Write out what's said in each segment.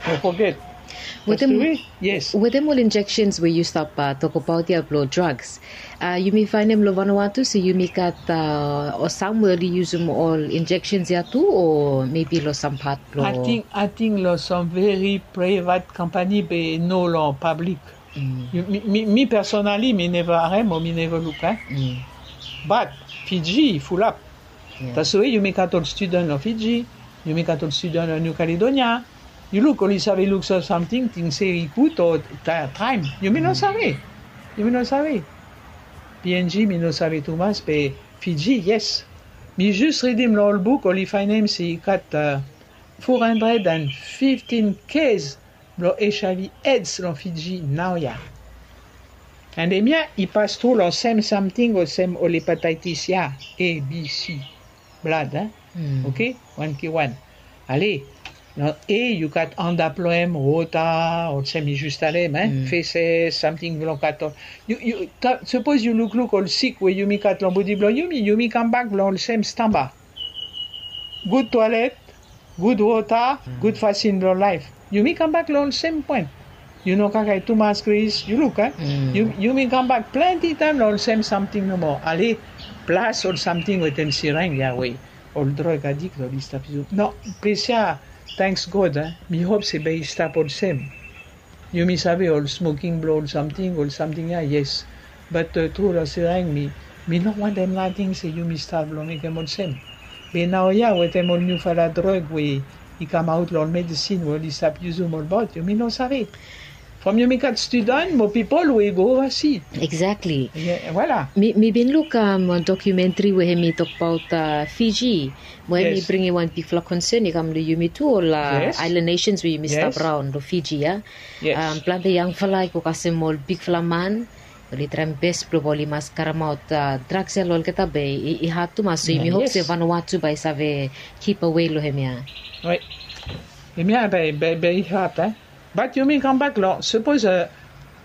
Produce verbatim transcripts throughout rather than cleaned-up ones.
Mo foget. Wetem ol injekshens we yu stap tokbaot ya blong drugs, yumi faenem long Vanuatu se yumi gat ol sam we oli yusum ol injekshens ya tu, o mebi long sam pat blong? Ating long sam veri privat kampani be no long pablik. Mi personali mi neva harem o mi neva luk. Bat Fiji i fulap. Taswe yumi gat ol studan long Fiji, yumi gat ol studan long New Caledonia. Yu luk oli save luk so samting ting se i gud o traem. Yumi no save. Yumi no save. Png mi no save tumas be Fiji yes. Mi jus ridim long ol buk oli faenem se i gat four hundred and fifteen kes blong HIV aids long Fiji naoia. And hemia i pas tru long sem samting olsem ol hepataitis ya, A B C. Blad a. Oke. Wan ki wan. Ale, long A yu gat anda blong hem wota olsem mi jus talem, feses samting blong gat ol. Yu yu sapos yu lukluk ol sik we yumi gat long bodi blong yumi yumi kambak blong olsem stamba. Gud toalet, gud wota, gud fasin blong laef. Yumi kambak long ol sem poen. Yu no kakae tumas gris yu luk a. Yumi kambak plenti taem long ol sem samting nomo ale. Plas ol samting wetem sireng ya we ol drog adik long distap yu no. Ples ya. Tanks god a mi hop se bae i stap olsem. Yumi save ol smoking blong ol samting ol samting ya yes. Bat tru long sireng mi mi no wantem nating se yumi stap long mekem olsem. Be naoia wetem ol niufala drog we i kamaot long ol medisin we oli stap yusum olbaot yumi no save. From yumi gat studan mo pipol we i go ovasi. Eksakli. Voila. Mi bin luk wan dokumentri we hem i tokbaot fiji, mo hem i bringim wan bigfala konsen i kam long yumi tu ol aelan nesens we yumi stap raon long fiji ya. Plante yangfala i go kasem ol bigfala man, oli traem bes blong oli mas karemaot draks ya long olgeta be i hat tumas so yumi hop se vanua tu bae i save kip awe long hemia. Hemia bae i hat a. Bat yumi kambak long sapos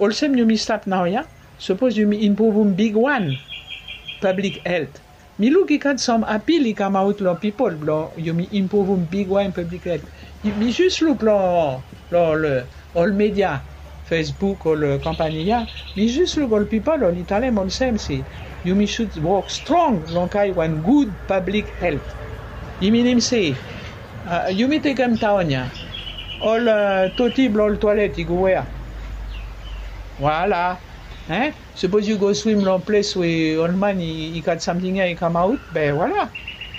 olsem yumi stap naoia, sapos yumi impruvum bigwan pablik helt. Mi luk i gat sam apil i kamaot long pipol blong yumi impruvum bigwan pablik helt. Mi jus luk long long ol media, facebook ol kampani ya. Mi jus luk ol pipol oli talem olsem se yumi sud wok strong long kari wan gud pablik helt. I minim se yumi tekem taon ya ol toti blong ol toalet i go wea? Voila. Sapos yu go swim long ples we ol man i gat samting ya i kamaot be voila.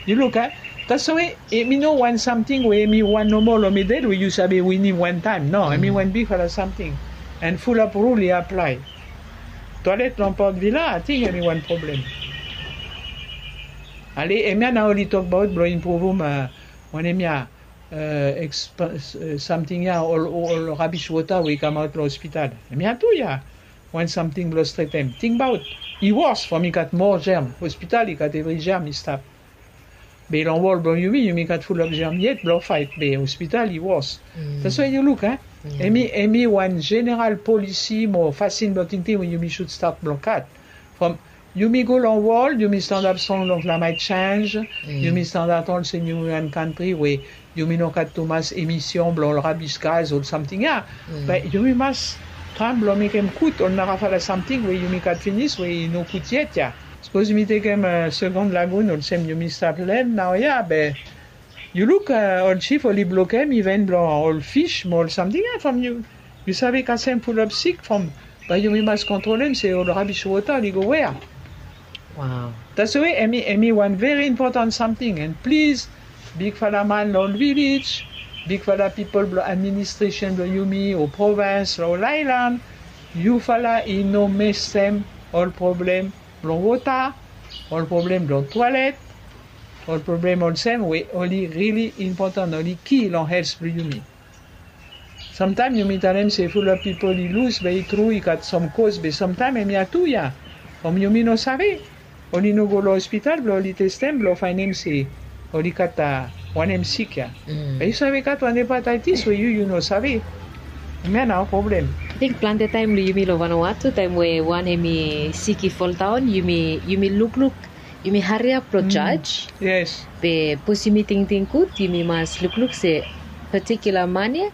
Yu luk a. Taswe em i no wan samting we em i wan nomo long midel we yu save winim wantaem no em i wan bigfala samting. An fulap rul i aplae. Toalet long port vila ating em i wan problem. Ale hemia nao oli tokbaot blong impruvum wanem ya. Samting ya ol rabis wota we i kamaot long hospital. Hemia tu ya wan samting blong stretem tingbaot. I wos from i gat moa jerm hospital i gat evri jerm i stap. Be long wol blong yumi yumi gat fulap jerm yet blong faet be hospital i wos. Taswe yu luk a. Em i wan jeneral polisi mo fasin blong tingting we yumi sud stat blong kat. From yumi go long wol yumi standap strong long klamaet senj. Yumi standap olsem yumi wan kantri we yumi no gat tumas emision blong ol rabis gaz ol samting ya. Be yumi mas traem blong mekem kut ol narafala samting we yumi gat finis we i no kut yet ya. Sapos yumi tekem segon lagun olsem yumi stap len naoia be yu luk ol sif oli blokem iven blong ol fis mo ol samting ya from yu save kasem fulap sik from. Bae yumi mas kontrolem se ol rabis wota oli go wea? Taswe em i wan veri impotan samting an plis bigfala man long ol vilej, bigfala pipol blong administresen blong yumi o provens long ol aelan, yufala i no mestem ol problem blong wota, ol problem blong toalet, ol problem olsem we oli rili impotan oli ki long hels blong yumi. Samtaem yumi talem se fulap pipol i lus be i tru i gat sam koz be samtaem hemia tu ya. From yumi no save. Oli no go long hospital blong oli testem blong faenem se oli gat wanem sik ya. Be yu save gat wan hepataitis we yu yu no save. Hemia nao problem. Ating plante taem long yumi long vanua tu taem we wan hem i sik i foldaon yumi lukluk, yumi hariap long jaj. Be bos yumi tingting gud yumi mas lukluk se patikula man ya